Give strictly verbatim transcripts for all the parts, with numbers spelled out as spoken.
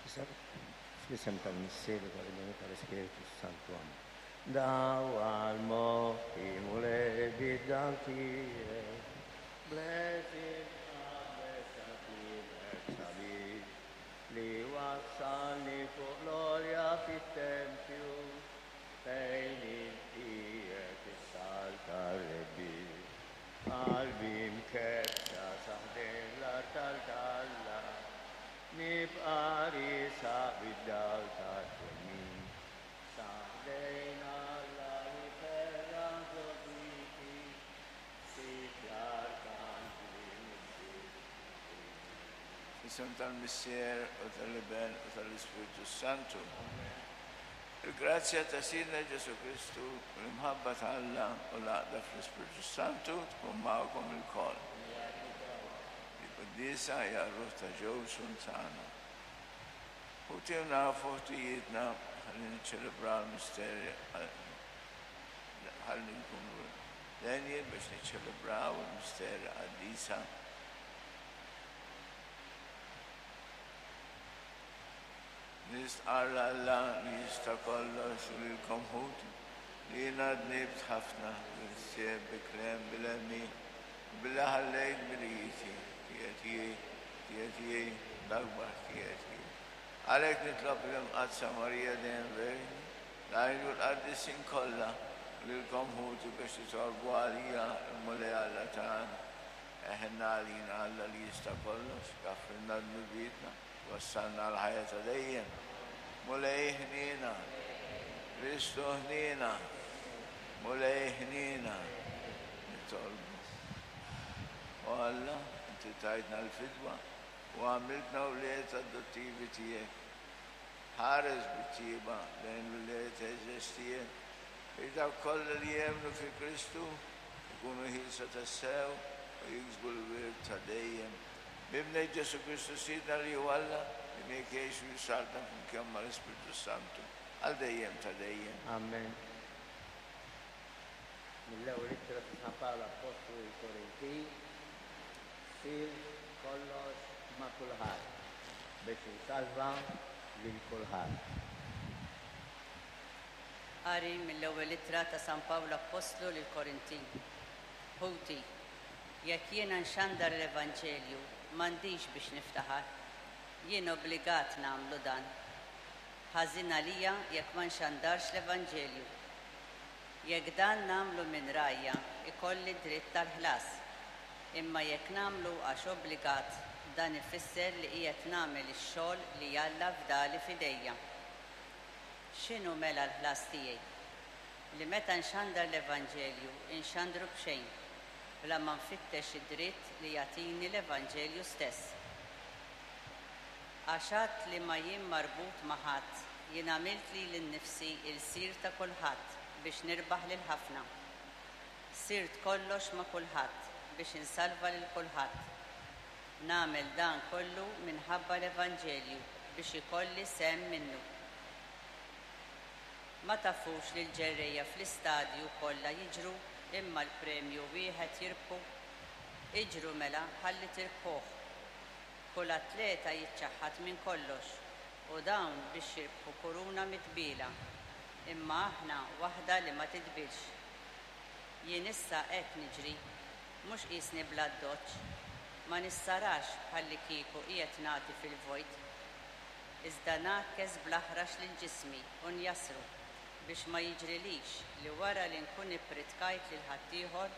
Fl-isem tal-Missier u tal-Iben u tal-Ispirtu Santu. Amen. Dawwal moħħi Mulej bid-dawl tiegħek. Blessed sabiħ li wassalni fuq l-għolja fit-tempju fejn qiegħed is-saltan rebbieħ. Qalbi mkebbsa sa ħdejn l-artal t'Alla, nibqa' riesaq bid-dawl tat-twemmin. Sa ħdejn Alla li ferraħ għoġbiti, ssib l-arkanġli mill-ġdid. Fl-isem tal-Missier u tal-Iben u tal-Ispirtu Santu. Il-grazzja ta' Sidna Ġesù Kristu u l-imħabba ta' Alla u l-għaqda fl-Ispirtu Santu tkun magħkom ilkoll. Il-quddiesa hija r-ruħ ta' ġew sultana. Ħuti u nafu ħtijietna ħalli niċċelebraw il-misteri ħalli nkunu denji biex niċċelebraw il-misteri qaddisa. Nistqarr Alla li jista' kollox u lilkom ħuti li jiena dnibt ħafna bil-ħsieb, bil-kliem, bil-għemil, u billi ħallejt dmirijieti, ħtijieti, ħtijieti, l-akbar ħtijieti. Għalhekk nitlob l-Imqaddsa Marija dejjem Verġni, l-anġlu l-qaddisin kollha, u lilkom ħuti biex titolbu għalija l-Mulej Alla tagħna. Eħenna għalina Alla li jista' kollox, jaghfrilna dnubietna, wassalna l-ħajja ta' dejjem. Mulej ħniena, Kristu ħniena, Mulej ħniena, nitolbu. O Alla, inti tajtna l-fidwa u għamiltna wlied adottivi tiegħek. Ħares bit-tjieba lejn l-ulied għeżież tiegħek, biex dawk kollha li jemmnu fi Kristu jkunu ħielsa tassew u jiksbu l-wirt ta' dejjem. B'Ibnek Ġesù Kristu Sidna li hu Alla, li miegħek jgħix u jsaltan flimkien mal-Ispirtu Santu, għal dejjem ta' dejjem. Amen. Mill-ewwel ittra ta' San Pawl Appostlu lill-Korintin, sirt kollox ma' kulħadd biex insalva lil kulħadd. Qari mill-ewwel ittra ta' San Pawl Appostlu lill-Korintin. Ħuti, jekk jiena nxandar l-Evanġelju, m'għandix biex niftaħar. Jien obbligat nagħmlu dan. Ħażin għalija jekk ma nxandarx l-Evanġelju. Jekk dan nagħmlu minn rajja, ikolli dritt tal-ħlas. Imma jekk nagħmlu għax obbligat, dan ifisser li qiegħed nagħmel ix-xogħol li Alla fdali f'idejja. X'inhu mela l-ħlas tiegħi? Li meta nxandar l-Evanġelju, inxandru b'xejn, bla ma nfittex id-dritt li jagħtini l-Evanġelju stess. Għax għad li ma jien marbut ma' ħadd, jien għamilt lili nnifsi lsir ta' kulħadd biex nirbaħ lil ħafna. Sirt kollox ma' kulħadd biex insalva lil kulħadd. Nagħmel dan kollu minħabba l-Evanġelju biex ikolli sehem minnu. Ma tafux li l-ġerrejja fl-istadju kollha jiġru imma l-premju wieħed jirbħu? Iġru mela ħalli tirbħuh. Kull atleta jiċċaħħad minn kollox u dawn biex jirbħu kuruna mitbiela, imma aħna waħda li ma titbilx. Jien issa hekk niġri, mhux qisni bl-addoċċ, ma nissarax bħalli kieku qiegħed nagħti fil-vojt. Iżda ngħakkes bl-aħrax lil ġismi u njassru biex ma jiġrilix li wara li nkun ippritkajt lil ħaddieħor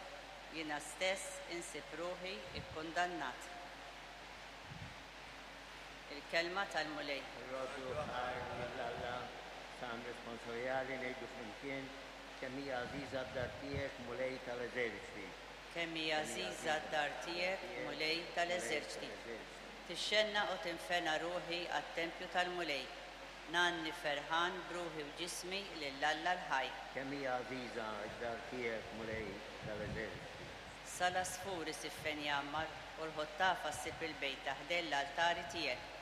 jiena stess insib ruħi ikkundannat. Il-kelma tal-Mulej. Irroddu ħajr lil Alla, Salm responsorjali ngħidu flimkien kemm hija għażiża d-dar tiegħek Mulej tal-eżerċti. Kemm hija għażiża d-dar tiegħek, Mulej tal-eżerċti. Tixxennaq u tinfena ruħi għat-tempju tal-Mulej. Ngħanni ferħan b'ruħi u ġismi lil Alla l-ħaj. Kemm hija għażiża d-dar tiegħek Mulej tal-eżerċti. Sal-għasfur isib fejn jgħammar u l-ħottafa ssib il-bejta ħdejn l-altari tiegħek.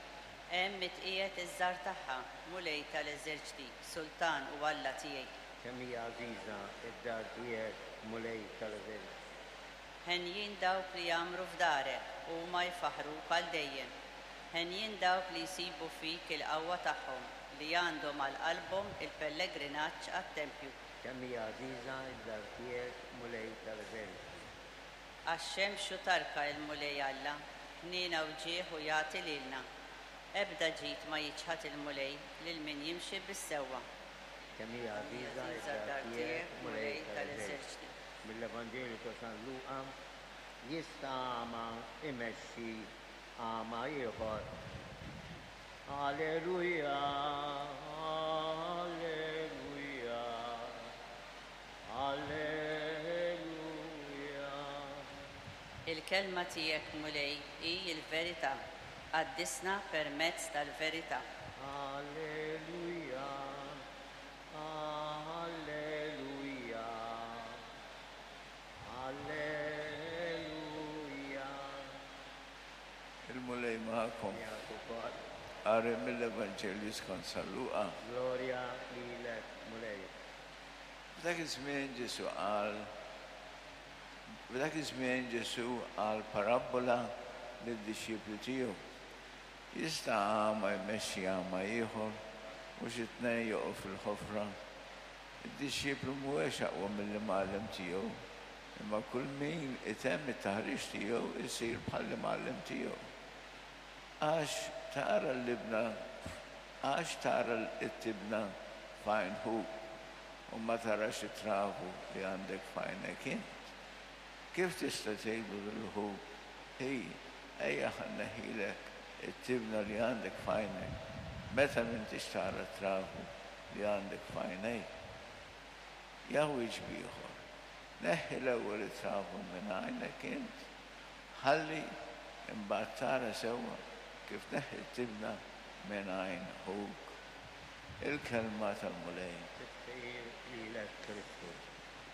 Hemm itqiegħed iż-żgħar tagħha, Mulej tal-eżerċti, Sultan u Alla tiegħi. Kemm hija għażiża d-dar tiegħek Mulej tal-eżerċti. Henjin dawk li jgħammru f'darek u huma jfaħħruk għal dejjem. Henjin dawk li jsibu fik il-qawwa tagħhom li għandhom għal qalbhom il-pellegrinaġġ għat-tempju. Kemm hija għażiża d-dar tiegħek, Mulej tal-eżerċti. Għax xemx u tarka il-Mulej Alla, ħniena u ġieħ u jagħti lilna. Ebda ġid ma jiċħad il-Mulej lil min jimxi bis-sewwa. Kemm hija għażiża d-dar tiegħek, Mulej tal-eżerċti. Mill-Evanġelju ta' San Luqa, jista' għama imexxi għama ieħor. Alleluja, alleluja, alleluja. Il-kelma tiegħek, Mulej, hi l-verità. Qaddisna permezz tal-verità. Alleluja, alleluja, alleluja. Il-Mulej magħkom. Miegħek ukoll. Qari mill-Evanġelju skont San Luqa. Glorja lilek, Mulej. F'dak iż-żmien Ġesù qal F'dak iż-żmien Ġesù qal parabbola lid-dixxipli tiegħu. Jista' għama jmexxi għama ieħor u xi tnejn joqgħu fil-ħofra. Id-dixxiplu mhuwiex aqwa mill-imgħallem tiegħu, imma kull min itemm it-taħriġ tiegħu isir bħall-imgħallem tiegħu. Għax tara l-libna, għax tara t-tibna f'għajn ħuk u ma tarax it-travu li għandek f'għajnek int. Kif tista' tgħidlu lil ħuk, "Ej, ejja ħa nneħħilek it-tibna li għandek f'għajnek," meta m'intix tara t-travu li għandek f'għajnejk? Ja wiċċ b'ieħor, neħħi l-ewwel it-travu minn għajnek int, ħalli imbagħad tara sewwa kif tneħħi t-tibna minn għajn ħuk. Il-kelma tal-Mulej. Tifħir